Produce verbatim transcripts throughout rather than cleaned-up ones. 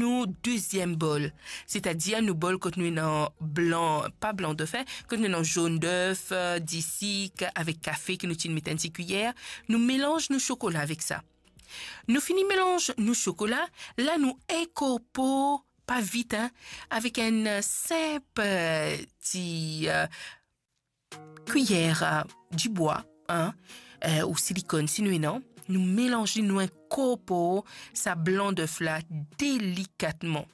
nou deziem bol, setadir nou bol kot nou ena blan, pa blan de fen, kot nou ena zone d'œuf, euh, disik avek kafe ki nou ti met enn ti kuiyer, nou melanz nou sokola avek sa. Nou fini melanz nou sokola, la nou inkorpor pa vit, hein, avek enn, euh, sinp, euh, ti, euh, kuiyer, euh, dibwa, hein, euh, ou silikonn si nou ena, nou melanz li, nou inkorpor sa blan d'œuf la delikatman.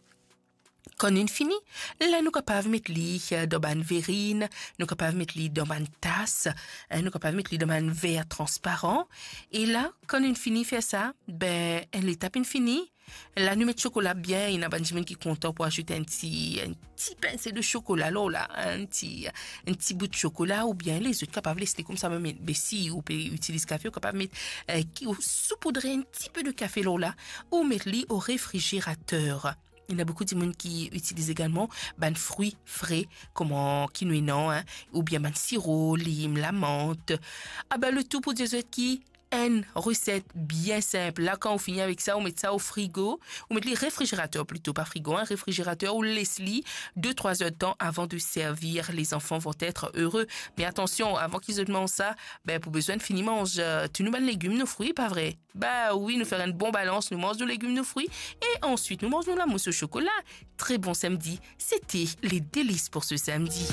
Kan nou fini, la nou kapav met li, euh, dan bann verinn, nou kapav met li dan bann tas, hein, nou kapav met li dan bann ver transparan. E la, kan nou fini fer sa, be, enn letap inn fini, la nou met sokola bien, ena bann dimoun ki kontan pou azout enn ti, enn ti pinse de sokola lor la, enn ti, enn ti bout sokola, oubien lezot kapav les li koumsa mem, be si ou pe itiliz kafe, ou kapav met, euh, ki, ou soupoudre enn tipe de kafe lor la, ou met li o refrizerater. Ena boukou dimoun ki itiliz egalman bann fri fre, kouma ki nou ena, hein, oubien bann siro, lim, lamant. Aba, letou pou dir zot ki enn reset bien sinp. La, kan ou fini avek sa, ou met sa o frigo, ou met li refrizerater plito, pa frigo, hein, refrizerater, ou les li de trwa zer de tan avan de servir. Les enfants vont être heureux. Me atansion, avan ki zot manz sa, be, pou bizin fini manz, euh, tou nou bann legim, nou fri, pa vre? Ba wi, nou fer enn bon balans, nou manz nou legim, nou fri, e answit nou manz nou lamous o sokola. Tre bon samdi, sete Les Délices pour ce samedi.